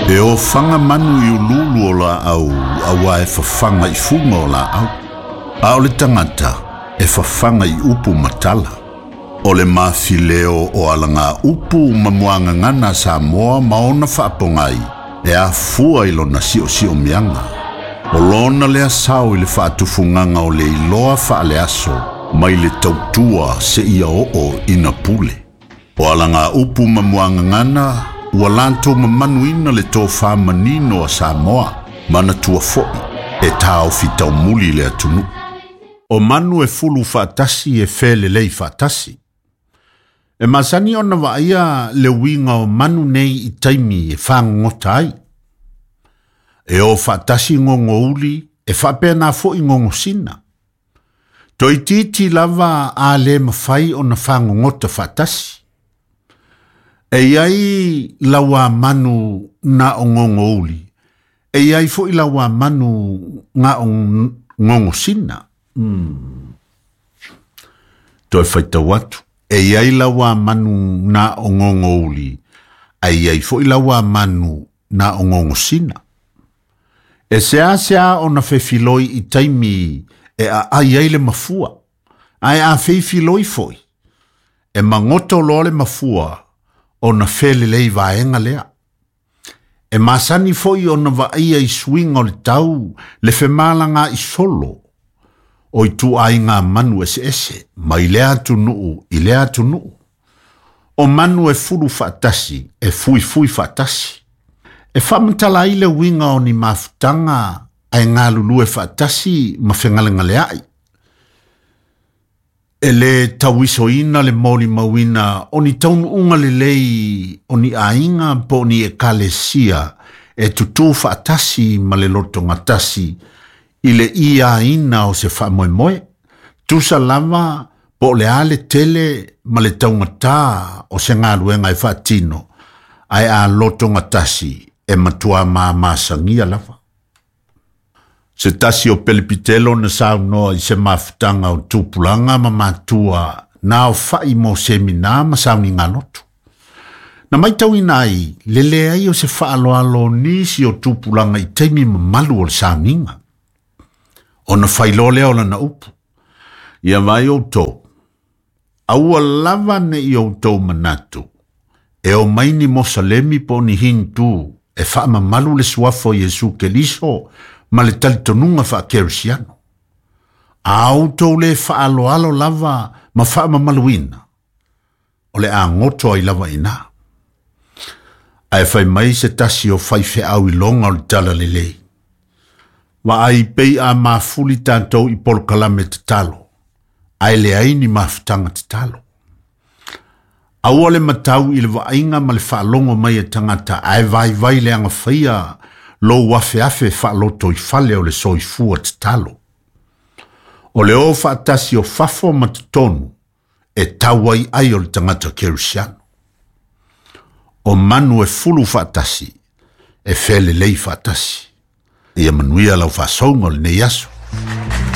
E ofaga manu i uluulu o laau auā e fafaga i fuga o laau, a o le tagata e fafaga i upu ma tala. O le mafileo o alagaupu ma muagagana a Samoa ma ona faapogai e afua i lona siosiomiaga. O lona lea sao i le faatufugaga o le iloa faaleaso mai le tautua seia oo ina pule. O alagaupu ma muagagana ua latou mamanuina le tofa manino a Samoa, manatua foi e taofi taumuli le atunuu. O manu e fulu faatasi e felelei faatasi. E masani ona vaaia le uiga o manu nei i taimi e fagogota ai. E o faatasi gogouli e faapena foi gogosina. Toeitiiti lava a le mafai ona fagogota faatasi. E i ai lauamanu na o gogouli, e i ai foi lauamanu na o gogosina. Toe faitau atu. E i ai lauamanu na o gogouli, ae i ai foi lauamanu na o gogosina. E seasea ona fefiloi i taimi e aai ai le mafua, ae a feifiloi foi, e magoto loa le mafua ona felelei vaega lea. E masani foi ona vaaia i suiga o le tau le femalagaai solo o ituaiga manu eseese mai lea atunuu i lea atunuu. O manu e fulu faatasi e fuifui faatasi. E faamatala ai le uiga o ni mafutaga ae galulue faatasi ma fegalegaleai. E lē tauisoina le molimauina o ni taunuuga lelei o ni aiga po o ni ekalesia e tutū faatasi ma le lotogatasi i le iaina o se faamoemoe, tusa lava po o le a le tele ma le taugatā o se galuega e faatino, ae a lotogatasi e matuā mamasagia lava. Se tasi o pelipitelo na saunoa i se mafutaga o tupulaga ma matua na aofa'i mo seminā ma sauniga lotu. Na matauina ai le leai o se faaaloalo o nisi o tupulaga i taimi mamalu o le sauniga. Ona failoa lea o lana upu. Ia vaai outou, aua lava ne i outou manatu, e omai ni Mosalemi po o ni Hindu e faamamalu le suafa o Iesu Keriso ma le talitonuga faakerisiano. A outou lē faaaloalo lava ma faamamaluina, o le a goto ai lava iinā. Ae fai mai se tasi o faifeau iloga o le talalelei, vaai pei a mafuli tatou i polokalame tatalo, ae leai ni mafutaga tatalo. Aua le matau i le vaaiga ma le faalogo mai a tagata ae vaivai le agafaia lou afeafe faalotoifale o le soifua tatalo. O le o faatasi o fafo ma totonu e tau ai ai o le tagata kerisiano. O manu e fulu faatasi, e felelei faatasi. Ia manuia lau faasouga o lenei aso.